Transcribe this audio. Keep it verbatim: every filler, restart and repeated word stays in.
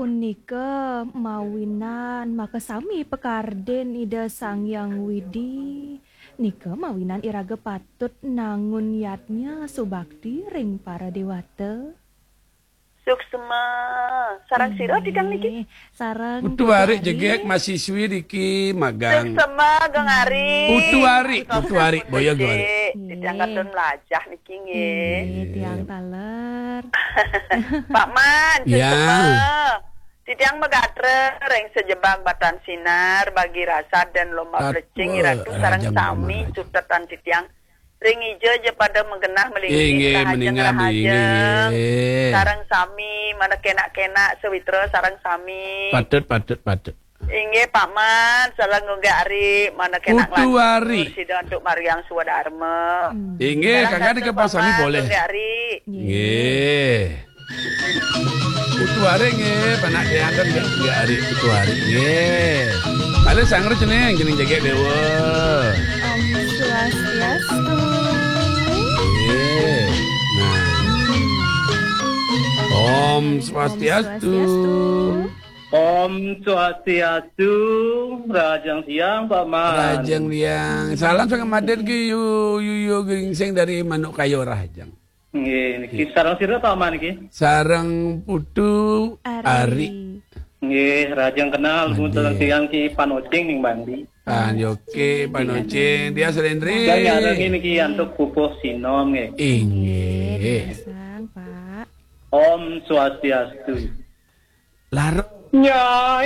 Nika mawinan makasami pakardi Ida Sang Hyang Widi. Nika mawinan iraga patut nangun yadnya subakti ring para dewata. Suksma. Sareng sira titiang niki? Sareng Putu Ari jegek mahasiswi niki magang. Suksma, Gung Ari. Putu Ari, Putu Ari, boya Gung Ari. Titiang katun mlajah niki nggih. Nggih, tiang taler. Pak Man, ya. Suksma. Titiang magatra ring sajebag batan sinar, bagi rasa dan lomba plecing, Ratu sareng sami sutetan titiang. Ring ija ja pada magenah malinggih. Inggih, rahajeng, meningan, rahajeng. Inggih. Sareng sami, mana kenak-kenak, sawitra sareng sami. Patut, patut, patut. Inggih, Pak Man, sareng Gung Ari, mana kenak Putu Ari. Sida antuk mariang swadarma. Hmm. Inggih, sareng kakak sami boleh. Gung Ari. Inggih. Putu Ari nggih, panak tiang kan nggih, nggih Ari, Putu Ari nggih. Malih sanggra cening, cening jegek dewa. Om Swastiastu. Nggih. Nah. Om Swastiastu. Om Swastiastu. Rahajeng siang, Pak Man. Rahajeng siang. Salam sanget madin ki yu yu yu gingsing dari Manuk Kayu Rahajeng. Nggih, niki sareng sira ta, Man, niki? Sareng Putu Ari. Ari. Nggih, rahajeng kenal, nggih. Sareng titiang Ki Panocing ning Bandi. Panocing, Panocing, dia selendri. Dan nyarengin niki antuk pupuh sinom, nggih. Inggih. Nggih, Sang, Pak. Om Swastiastu. Lar. Nyai